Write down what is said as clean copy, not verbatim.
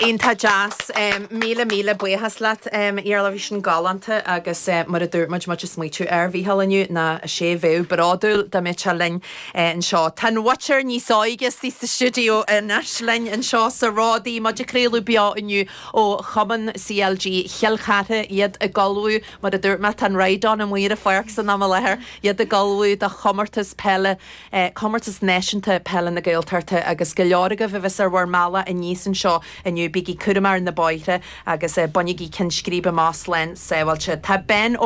Iontach deas. Míle míle buíochas leat, Iarla. Bhí sin galánta agus mar a dúirt muid, muid ag smaoitiú ar Mhícheál inniu, ná is é a bheadh bródúil dá mbeadh sé linn anseo. Tá an mhuintir níos óige istigh sa stiúideo anois linn anseo sa Ródaí, muid ag craoladh beo inniu ó Chumann CLG Chill Chartha, iad ag ullmhú, mar a dúirt mé, tá an ride on amuigh ar an pháirc san am i láthair, iad ag ullmhú do chomórtas peile Comórtas Náisiúnta Peile na Gaeltachta agus go leor agaibh a bheas ar bhur mbealach aníos anseo inniu, bígí cúramach ar na bóithre agus bainigí Cionn Scríbe amach slán sábháilte. Tá Ben Ó.